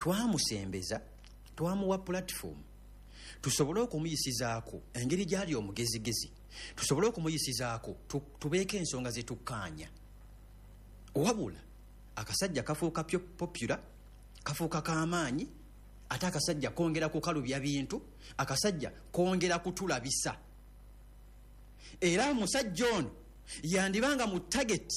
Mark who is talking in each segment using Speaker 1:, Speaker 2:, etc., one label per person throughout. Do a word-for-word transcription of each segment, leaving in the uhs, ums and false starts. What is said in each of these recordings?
Speaker 1: Twamusembeza, twamuwa platform tusobole okumuyisizaako engeri gyali omugezigezi, tusobole okumuyisizaako tubeeko ensonga zetukkaanya. Wabula akasajja kafuuka popular, kafuuka k'amaanyi, ate akasajja kongera kukalubya bintu, akasajja kongera kutulabisa. Era omusajja ono yandibanga mu target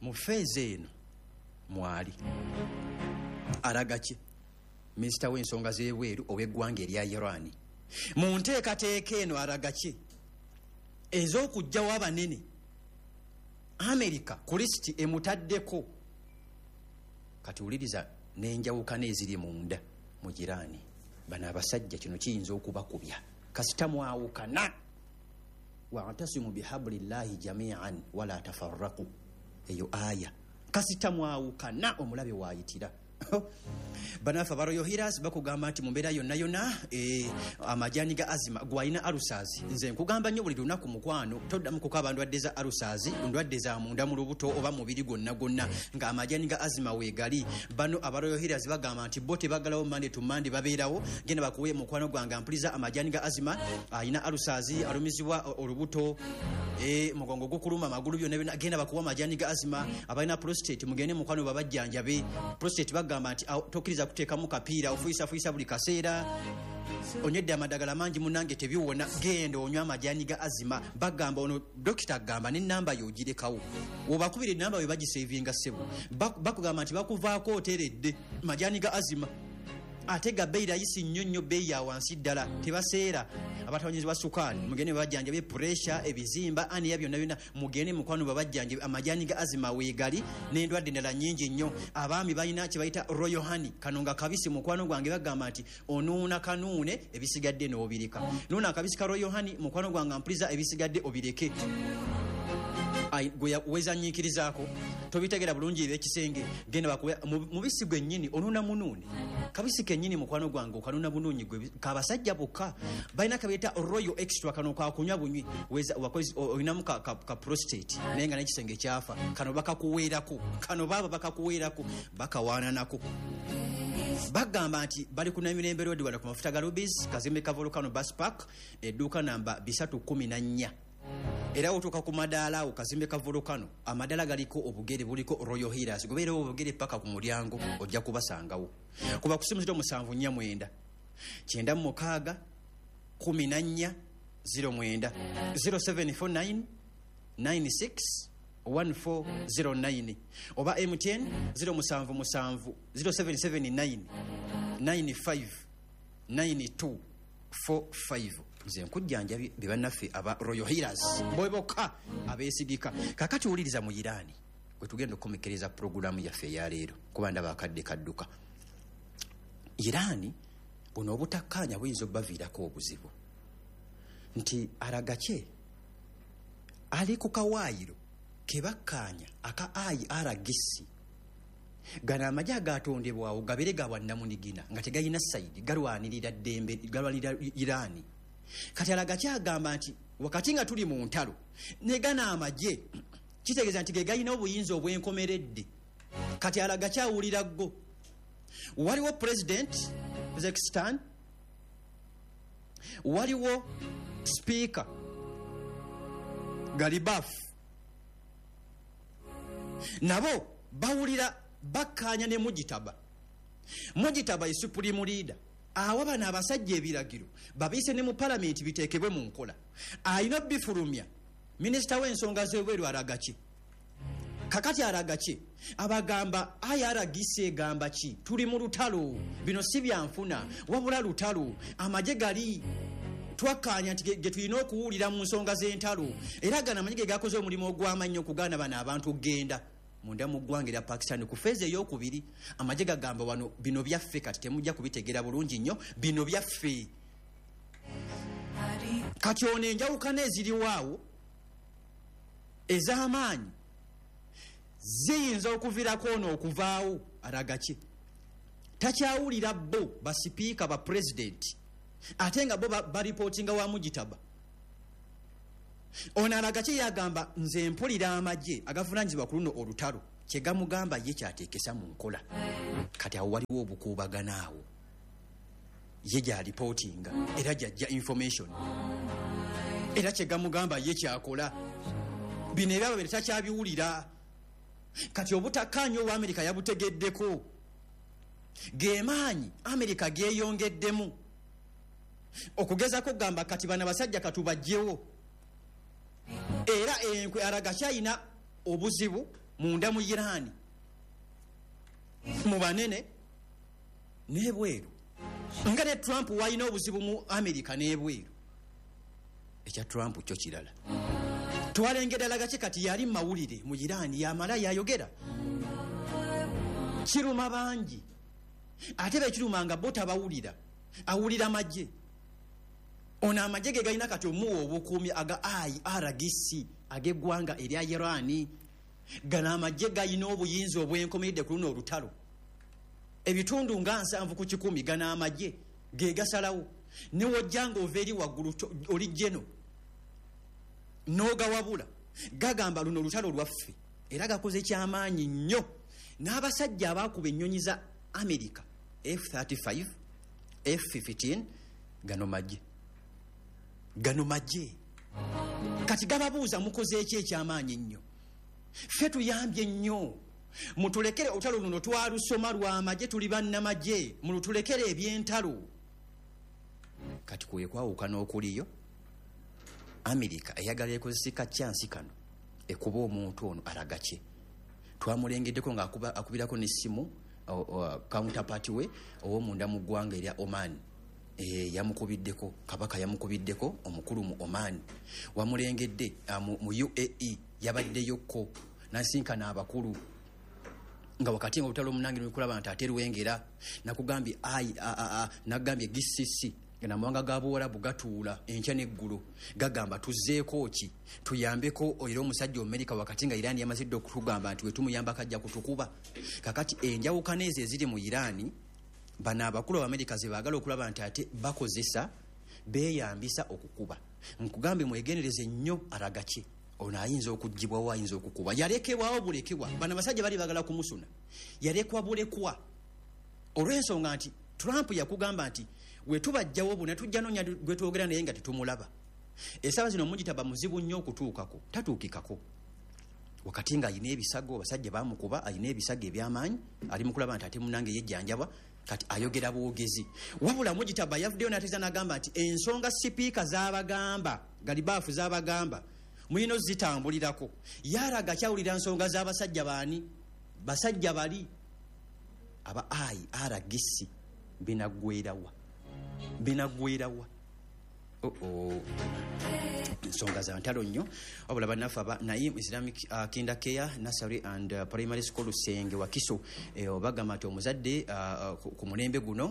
Speaker 1: mu phase eno mwali Aragaki, minisita w'ensonga z'ebweru ow'eggwanga erya Iran. Mu nteekateeka eno Aragaki ez'okuggyawo abanene, Amerika ku lisiti emutaddeko. Kati wuliriza n'enjawukana eziri munda mu Iran. Bano abasajja kino kiyinza okubakubya kasita mwawukana. Wa'tasimu bihablillahi jami'an wala tafarraqu, eyo aya. Kasita mwawukana omulabe waayitira. Banafe aba Royal Healers bakugamba nti mu mbeera yonna yonna e, amajani ga azima gwalina alusazi. Nze nkugamba nnyo buli lunaku mukwano, toddamu kukaaba ndwadde za alusazi, ndwadde za munda mu lubuto oba mubiri gwonna gwonna, nga amajani ga azima weegali. Bano aba Royal Healers bagamba nti bo tebagalawo Monday to Monday, babeerawo. Genda bakuwe mukwano gwange ampuliza amajani ga azima, alina alusazi, alumizibwa olubuto, e, mugongo gukuluma, amagulu, byonna byonna, genda bakuwa amajani ga azima. Abalina prostate mugende mukwano babajjanjabe. Prostate bagamba nti tokkiriza kuteekamu kapiira, ofuyisafuyiisa buli kaseera, onywedde amadagala mangi munange tebiwona, genda onywa amajani ga azima. Bagamba ono dokita agamba n'ennamba y'ogirekawo, wobakubira ennamba we bagisevinga ssebo. Bakugamba nti bakuvaako oteredde majani ga azima, ate ga bbeeyi rayisi nnyo nnyo, bbeeyi ya wansi ddala, tebaseera. Abatawanyizibwa sukaali mugende babajjanjabe, puresha, ebizimba, aniya, byonna byonna mugende mukwano babajjanjabe. Amajani ga azima weegali n'endwadde endala nnyingi nnyo. Abaami balina kye bayita Royal Honey, kano nga kabisi mukwano gwange, bagamba nti onuuna kanuune, ebisigadde n'obireka. Nuuna akabisi ka Royal Honey mukwano gwange mpuliza, ebisigadde obireke. Gwe wezanyiikirizaako tobitegera bulungi ebyekisenge, genda bakuwe mubisi gwennyini, onuuna munuuni kabisi kennyini mukwano gwange, okanuuna bunuunyi gwe kabasajja bokka. Balina kabeeta Royal Extra, kano kakunywa bunywi, olinamu ka, ka, ka prostate naye nga n'ekisenge kyafa, kano bakakuweerako, kano baaba bakakuweerako, bakawaananako. Bagamba nti bali ku Namirembe Road, wano ku mafuta ga Rubis, kazimbe ka Volcano Bus Park, edduuka namba bisatu kumi na nnya. Era otuuka ku madaala awo kazimbe ka Volcano, amadaala galiko obugere buliko Royal Healers, gobeerewo obugere paka ku mulyango, ojja kubasangawo. Kuba ku simu ziro musanvu nnya mwenda kyenda mu mukaaga kumi na nnya ziro mwenda, ziro seven four nine nine six one four zero nine, oba M T N ziro musanvu musanvu ziro seven seven nine nine five nine two four five. Nze nkujjanjabye be bannaffe aba Royal Healers bwe bokka abeesigika. Kaakati wuliriza mu Iran bwe tugenda okukomekkereza pulogulaamu yaffe eya leero, kuba ndaba akadde kadduka. Iran buno obutakkaanya buyinza obbaviirako obuzibu nti Aragaki ali ku kawaayiro ke bakkaanya aka I R G C. Gano amagye agatondebwawo gabeere ga bwannamunigina nga tegalina sayidi, galwanirira ddembe, galwanirira Iran. Kati Aragaki agamba nti wakati nga tuli mu ntalo ne gano amagye kitegeeza nti ge galina obuyinza obwenkomeredde. Kati Aragaki awulira ggo. Waliwo President Pezeshkian, waliwo Speaker Galibaf, nabo bawulira bakkaanya ne Mujitaba. Mujitaba ye supreme leader, awa bano abasajja ebiragiro babiyise ne mu palamenti biteekebwe mu nkola. Alina bifulumya minisita w'ensonga z'ebweru Aragaki. Kakati Aragaki abagamba I R G C egamba ki? Tuli mu lutalo, bino si byanfuna wabula lutalo, amagye gali twakkaanya nti ge tulina okuwulira mu nsonga z'entalo. Era gano amagye ge gakoze omulimu ogw'amaanyi okugaana bano abantu okugenda munda mu ggwanga erya Pakistan ku feeza ey'okubiri. Amagye gagamba wano bino byaffe, kati temujja kubitegeera bulungi nnyo, bino byaffe. Kati ono enjawukana eziriwo awo ez'amaanyi ziyinza okuviirako ono okuvaawo. Aragaki takyawulira bo basipiika ba pulezidenti, ate nga bo baripootinga wa Mujitaba. Ono Aragaki yagamba nze mpulira amagye agavunaanyizibwa ku luno olutalo, Kyegamugamba ye kyateekesa mu nkola. Kati awo waliwo obukuubagano awo. Ye gy'alipootinga era gy'ajja information, era kyegamugamba ye kyakola. Bino era babiri takyabiwulira. Kati obutakkaanya obwa Amerika yabutegeddeko. Ge maanyi Amerika geeyongeddemu okugezako okugamba kati bano abasajja katubajjewo. Era enkwe alaga kyalina obuzibu munda mu Iran, mu banene n'ebweru, nga ne Trump walina obuzibu mu Amerika n'ebweru. Ekya Trump kyo kirala. Twalengedde alaga ki kati yali mu mawulire mu Iran, yamala yayogera. Kiruma bangi, ate bekiruma nga bo tabawulira, awulira magye. Ono amagye ge galina kati omuwa obukuumi aga I R G C ag'eggwanga erya Iran. Gano amagye galina obuyinza obwenkomeredde ku luno olutalo. Ebitundu nga nsanvu ku kikumi gano amagye ge gasalawo. Ne wojja ng'ova eri waggulu oli jeno n'ogawabula, gagamba luno olutalo lwaffe. Era gakoze kyamaanyi nnyo. N'abasajja abaakuba ennyonyi za America F thirty-five, F fifteen, gano magye. Gano magye. Kati gababuuza mukoze eki ekyamaanyi ennyo? Ffe tuyambye nnyo. Mutulekere olutalo luno twalusoma lwa magye, tuli bannamagye, mulutulekere eby'entalo. Kati kwe kwawukana okuliyo. Amerika eyagala ekozesa kyansi kano ekuba omuntu ono alaga ki. Twamulengeddeko ng'akuba akubirako n'essimu counterpart we ow'omunda mu ggwanga erya Oman. E, yamukubiddeko, kabaka yamukubiddeko omukulu mu Oman. Wamulengedde mu, mu U A E yabaddeyokko n'asinkana abakulu nga wakati nga olutalo omunange n'okulaba nti ate lwengera. Nakugambye I A A A, nagambye G C C namawanga ga Buwarabu gatuula enkya n'eggulo gagamba tuzzeeko ki tuyambeko era omusajja Omumerika wakati nga Iran yamaze dda okutugamba nti wetumuyambako ajja kutukuba. Kakati enjawukana ezo eziri mu Iran, bano abakulu Abamerika ze baagala okulaba nti ate bakozesa beeyambisa okukuba. Nkugambye mwegendereze nnyo alaga ki ono ayinza okuggyibwawo, ayinza okukuba. Yalekebwawo bulekebwa. Bano abasajja bali baagala kumusuna, yalekwa bulekwa olw'ensonga nti Trump yakugamba nti we tubajjawo buna tujja noonya gwe twogera naye nga tetumulaba. Essaawa zino Mujitaba muzibu nnyo okutuukako, tatuukikako. Wakati nga ayina ebisago, abasajja baamukuba, ayina ebisago eby'amaanyi, ali mu kulaba nti ate munnange yejjanjabwa, kati ayogera bwogezi. Wabula Mujitaba yavuddeyo n'ategeeza n'agamba nti ensonga sipiika z'abagamba, Galibaafu z'abagamba, mulina ozitambulirako. Yalaga kyawulira nsonga z'abasajja baani? Basajja bali aba I R G C binaggwerawa, binaggwerawa. Oh oh. Ensonga za ntalo nnyo. Wabula bannaffe aba Naim Islamic uh, Kinder Care Nursery and uh, Primary School Senge Wakiso eh, bagamba nti omuzadde uh, ku mulembe guno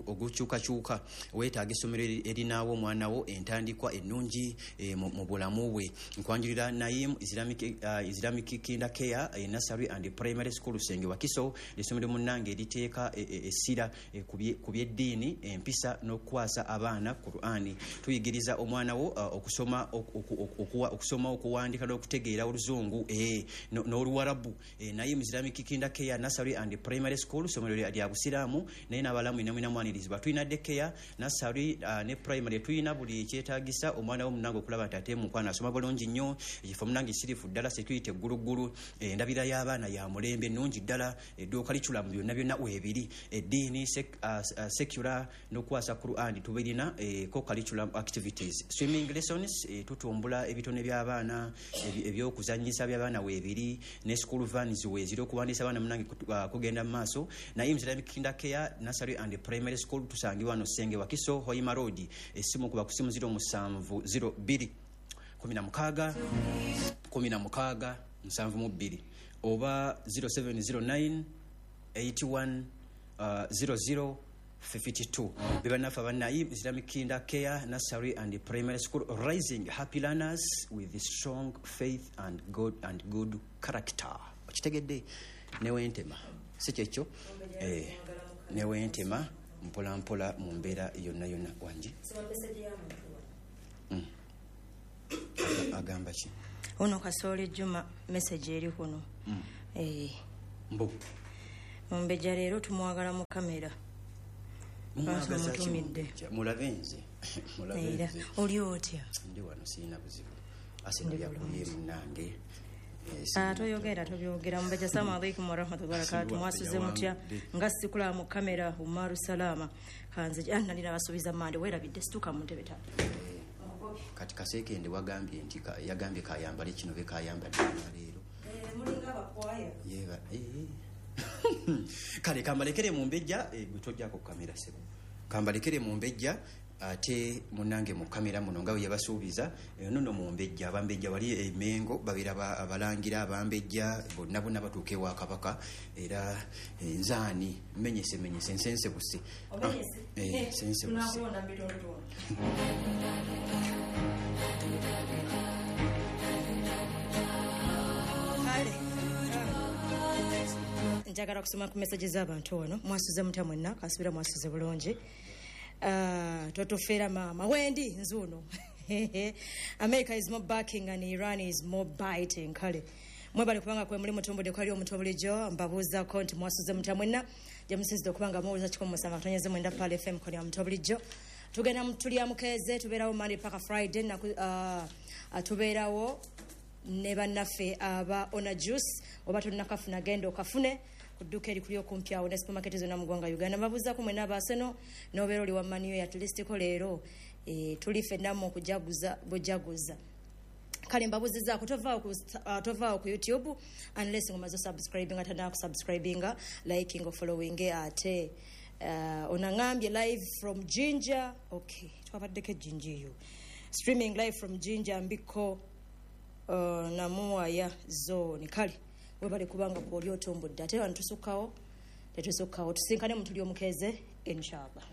Speaker 1: ogukyukakyuka weetaaga essomero erinaawo omwana wo entandikwa ennungi eh, mu bulamu bwe. Nkwanjulira Naim Islamic, uh, Islamic Kinder Care eh, Nursery and Primary School Senge Wakiso, essomero munnange eriteeka essira eh, ku by'eddiini, empisa n'okukwasa abaana Qur'ani. Tuyigiriza omwana wo uh, okusoma okusoma okuwandika n'okutegeera oluzungu eh, n'oluwarabu. Eh, Naim Islamic Kinder Care Nursery and Primary School ssomero lya Busiraamu naye n'abalamu ina mwanirizibwa. Tulina daycare, nursery uh, ne primary. Tulina buli ekyetaagisa omwana wo munnange okulaba nti ate mukwano asoma bulungi nnyo. Ekifo munnange sirifu ddala, security egguluggulu, endabira eh, y'abaana ya mulembe nnungi ddala, edduuka liculamu byonna byonna weebiri. Eddiini sek, uh, uh, secular n'okukwasa Qur'an tubirina, eh, ko curriculum activities, swimming lessons, eh, tutumbula ebitone by'abaana, ebyokuzannyisa by'abaana weebiri, ne school vans weeziri okuwandiisa abaana munnange kugenda mu maaso. Naim Islamic Kinder Care Nursery and Primary School tusangibwa wano Senge Wakiso, Hoima Road. Essimu kuba ku simu ziro musanvu ziro bbiri kumi na mukaaga kumi na mukaaga nsanvu mu bbiri oba ziro seven ziro nine eight one ziro ziro fifty-two. Bebanafa ba Naim Islamic Kinder Care Nursery and Primary School, raising happy learners with strong faith and good and good character. Okitegedde newentema si kyekyo eh, newentema mpola mpola mu mbeera yonna yonna. Wangi mm. Agamba ki
Speaker 2: ono Kasooli Juma message eri kuno mm. Eh.
Speaker 1: Mbu
Speaker 2: Mumbejja leero tumwagala mu kamera.
Speaker 1: Mumwagaza ki
Speaker 2: Mutumidde.
Speaker 1: Mumbejja? Mulabe nze. Mulabe
Speaker 2: Era
Speaker 1: nze.
Speaker 2: oli otya?
Speaker 1: Ndi wano sirina buzibu. Aseno
Speaker 2: Ndi
Speaker 1: yakubye
Speaker 2: bulungi.
Speaker 1: munnange. Eh,
Speaker 2: Ah,
Speaker 1: sirina
Speaker 2: toyogera tobyogera. Mumbejja, assalamu alaikum warahmatullahi wabarakatuh.
Speaker 1: Asiru
Speaker 2: Mwasuze mutya?
Speaker 1: yawangudde.
Speaker 2: Nga sikulaba mu kamera. Umaru Salama kanze ah, nali nabasuubiza mande, weerabidde, situka mu ntebe taata.
Speaker 1: Kati Kaseekende wagambye nti ka-, yagambye kayambale kino be kayambadde leero.
Speaker 2: Mulinga abakwaya.
Speaker 1: Yeba, eh, eh. Kale kambalekere Mumbejja, eh, gwe tojjako ku kamera ssebo. Kambalekere Mumbejja ate munnange mu kamera muno nga bwe yabasuubiza, eh, nono Mumbejja, Abambejja wali e Mengo babeera ba-, abalangira Abambejja bonna bonna batuuka ewa Kabaka era, eh, nzaani menyese menyese nsensebuse.
Speaker 2: Omenyese?
Speaker 1: Ah, eh,
Speaker 2: Eh,
Speaker 1: nsensebuse.
Speaker 2: Tunakulonda mu bitundutundu. Kale. Njagala kusoma ku message z'abantu wano. Mwasuze mutya mwenna? Kasubira mwasuze bulungi. Ah, totufeera maama. Wendi nzuno. America is more backing and Iran is more biting. Kale mwebale kubanga kwe muli mutumbudde kwali omuntu bulijjo. Mbabuuzaako nti mwasuze mutya mwenna? Gye musinzidde okubanga muwuliza kikumi musanvu katonyeze mwenda Pearl F M koni omuntu bulijjo. Tugenda mu tulya mukeeze, tubeerawo Monday paka Friday, naku, ah, ah, tubeerawo ne bannaffe aba Ona Juice. Oba tonnakafuna genda okafune ku dduuka erikuli okumpi awo ne supermarket zonna mu ggwanga Uganda. Mbabuuzaako mwenna aba Arsenal n'obeera oli wa Man U, at least ko leero, eh, tuli ffenna mu kujaguza bujaguza. Kale mbabuuzizaako, tovaawo ku sta-, ah, tovaawo ku YouTube unless ng'omaze osubscribinga, tannaba kusubscribinga, liking or following. Ate, eh, onaŋŋambye live from Jinja. Okay, twabaddeko e Jinja eyo. Streaming live from Jinja Mbiko, uh, Namuwaya zone. Kale webale kubanga kwoli otumbudde. Ate wano tusukkawo, tetusukkawo, tusinkane mu tuli omukeeze inshallah.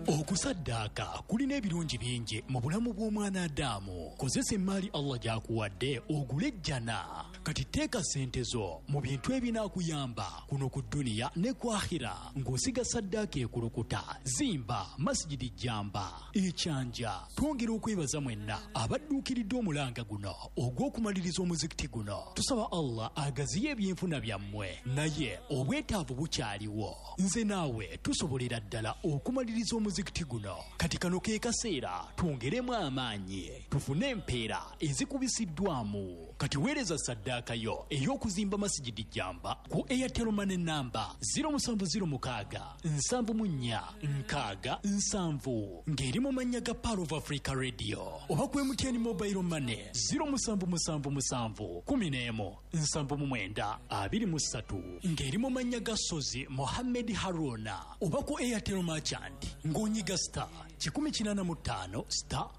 Speaker 3: Okusaddaaka kulina ebirungi bingi mu bulamu bw'omwana Adamu. Kozesa emmaali Allah gy'akuwadde ogule ejjana. Kati teeka ssente zo mu bintu ebinaakuyamba kuno ku dduniya ne ku akhira, ng'osiga saddaaka ekulukuta, zimba masijidi jjamba ekyanja. Twongera okwebaza mwenna abadduukiridde omulanga guno ogw'okumaliriza omuzikiti guno. Tusaba Allah agaziye ebyenfuna byammwe, naye obwetaavu bukyaliwo. Nze naawe tusobolera ddala okumaliriza omuzikiti guno. Kati kano ke kaseera twongeremu amaanyi tufune empeera ezikubisiddwamu. Kati weereza saddaaka yo ey'okuzimba masijidi jjamba ku Airtel Money namba zero musanvu zero mukaaga nsanvu mu nnya nkaaga nsanvu ng'eri mu mannya ga Pearl of Africa Radio, oba ku M T N Mobile Money zero musanvu musanvu musanvu kumi n'emu nsanvu mu mwenda abiri mu ssatu ng'eri mu mannya ga Sozi Mohammed Haruna, oba ku Airtel Merchant ng'onyiga star kikumi kinaana mu ttaano star